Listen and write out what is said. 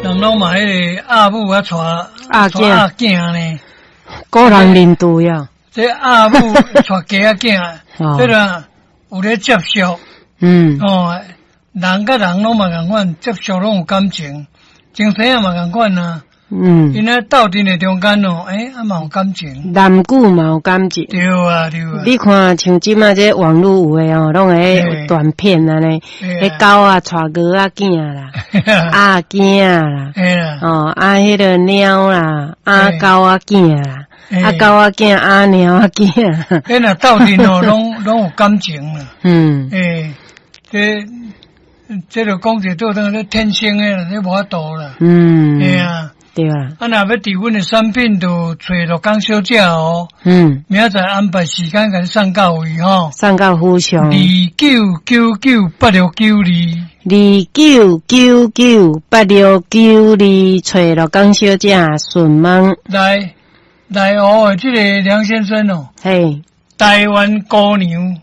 人攏嘛彼个阿母啊，娶阿阿囝呢？古人認對啊。這阿母娶雞仔囝，這個有咧接觸。哦，人佮人攏嘛仝款，接觸攏有感情，精神也嘛仝款啊。𪜶咧鬥陣的中間哦，欸，啊嘛有感情。男女嘛有感情。對啊，對啊。你看，像這馬這網路有的哦，攏會短片按呢，彼狗仔娶鵝仔囝啦，鴨囝啦，哦，啊，彼个貓啦，啊狗仔囝啦，啊狗仔囝，啊貓仔囝。彼若鬥陣哦，攏有感情啦。欸，這就講者做當咧天生的啦，這無法度啦。嘿啊。對啊。啊，若欲佇阮的產品，就揣樂江小姐哦。明仔載安排時間，共你送到位吼。送到府上。29998692。29998692，揣樂江小姐順問。來，來哦，這个梁先生哦。嘿。台灣姑娘。